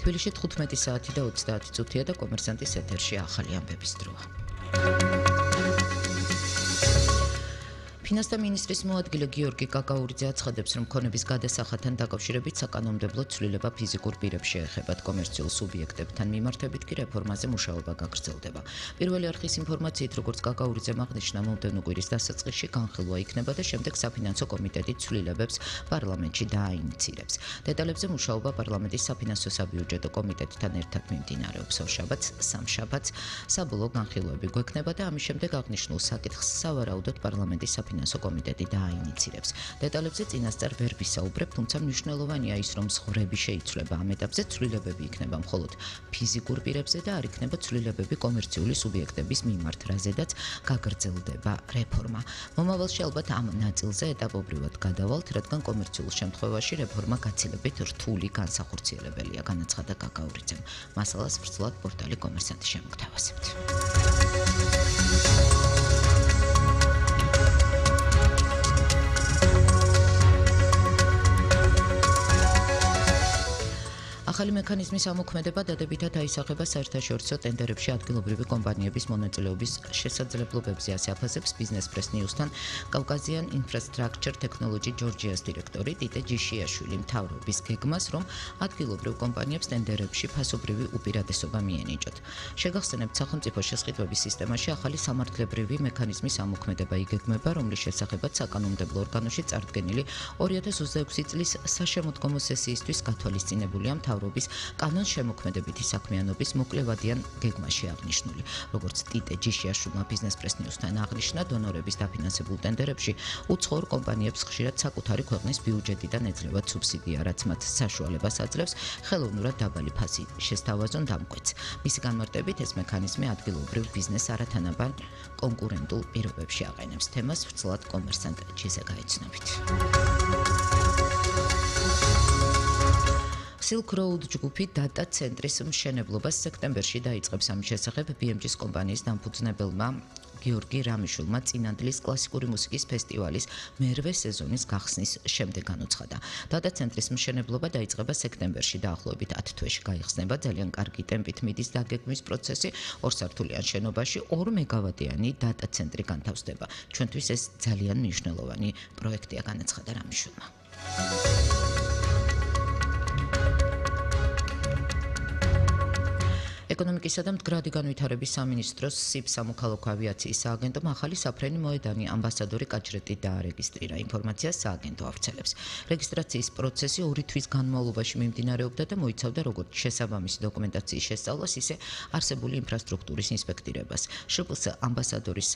თბილისში 15 საათი და 30 წუთია და კომერსანტის ეთერში ახალი ამბების დროა. ფინანსთა მინისტრის მოადგილე გიორგი კაკაურიძე აცხადებს, რომ ქონების გადასახადთან დაკავშირებით საკანონმდებლო ცვლილება ფიზიკურ პირებს შეეხებათ, კომერციულ სუბიექტებთან მიმართებით კი რეფორმაზე მუშაობა გაგრძელდება. პირველი არხის ინფორმაციით, როგორც კაკაურიძემ აღნიშნა, მომდევნო კვირის დასაწყისში განხილვა იქნება და შემდეგ საფინანსო კომიტეტი ცვლილებებს პარლამენტში დააინიცირებს. დეტალებზე მუშაობა პარლამენტის საფინანსო საბიუჯეტო კომიტეტთან ერთად მიმდინარეობს. ორშაბათს, სამშაბათს საბოლოო განხილვები გვექნება და ამის შემდეგ აღნიშნულ საკითხს სავარაუდოდ პარლამენტის საფინანსო კომიტეტი დააინიცირებს. დეტალებზე წინასწარ ვერ ვისაუბრებ, თუმცა მნიშვნელოვანია ის, რომ ზღვრები შეიცვლება. ამ ეტაპზე ცვლილებები იქნება მხოლოდ ფიზიკურ პირებზე და არ იქნება ცვლილებები კომერციული სუბიექტების მიმართ, რაზედაც გაგრძელდება რეფორმა. მომავალში ალბათ ამ ნაწილზე ეტაპობრივად გადავალთ, რადგან კომერციულ შემთხვევაში რეფორმა გაცილებით რთული განსახორციელებელია, განაცხადა კაკაურიძემ. მასალას ვრცლად პორტალი კომერსანტი შემოგთავაზებთ. ახალი მექანიზმის ამოქმედება დადებითად აისახება საერთაშორისო ტენდერებში ადგილობრივი კომპანიების მონაწილეობის შესაძლებლობებზე, ასე აფასებს Business Press News-თან Caucasian Infrastructure Technology Georgia's დირექტორი ტიტე ჯიშიაშვილი, მთავრობის გეგმას, რომ ადგილობრივ კომპანიებს ტენდერებში ფასობრივი უპირატესობა მიენიჭოთ. შეგახსენებთ, სახელმწიფო შესყიდვების სისტემაში ახალი სამართლებრივი მექანიზმის ამოქმედება იგეგმება, რომლის შესახებაც საკანონმდებლო ორგანოში წარდგენილი 2026 წლის საშემოდგომო სესიისთვის გათვალისწინებულია მთავრობის კანონშემოქმედებითი საქმიანობის მოკლევადიან გეგმაში აღნიშნული. როგორც ტიტე ჯიშიაშვილმა Business Press News-თან აღნიშნა, დონორების დაფინანსებულ ტენდერებში უცხოურ კომპანიებს ხშირად საკუთარი ქვეყნის ბიუჯეტიდან ეძლევათ სუბსიდია, რაც მათ საშუალებას აძლევს ხელოვნურად დაბალი ფასი შესთავაზონ დამკვეთს. მისი განმარტებით, ეს მექანიზმი ადგილობრივ ბიზნესს არათანაბარ კონკურენტულ პირობებში აყენებს. თემას ვრცლად კომერსანტ ჯიზე გაეცნობით. Silk Road ჯგუფი დატა ცენტრის მშენებლობას სექტემბერში დაიწყებს. ამის შესახებ BMG-ის კომპანიის დამფუძნებელმა გიორგი რამიშვილმა წინანდლის კლასიკური მუსიკის ფესტივალის მერვე სეზონის გახსნის შემდეგ განუცხადა. დატა ცენტრის მშენებლობა დაიწყება სექტემბერში, დაახლოებით 10 თვეში გაიხსნება. ძალიან კარგი ტემპით მიდის დაგეგმვის პროცესი. ორსართულიან შენობაში 2 მეგავატიანი დატა ცენტრი განთავსდება. ჩვენთვის ეს ძალიან მნიშვნელოვანი პროექტია, განაცხადა რამიშვილმა. ეკონომიკისა და მდგრადი განვითარების სამინისტროს SIP სამოქალაქო ავიაციის სააგენტომ ახალი საფრენი მოედანი ამბასადორი კაჭრეტი დაარეგისტრირა. ინფორმაციას სააგენტო ავრცელებს. რეგისტრაციის პროცესი 2 თვის განმავლობაში მიმდინარეობდა და მოიცავდა როგორც შესაბამისი დოკუმენტაციის შესწავლას, ისე არსებული ინფრასტრუქტურის ინსპექტირებას. შპს ამბასადორის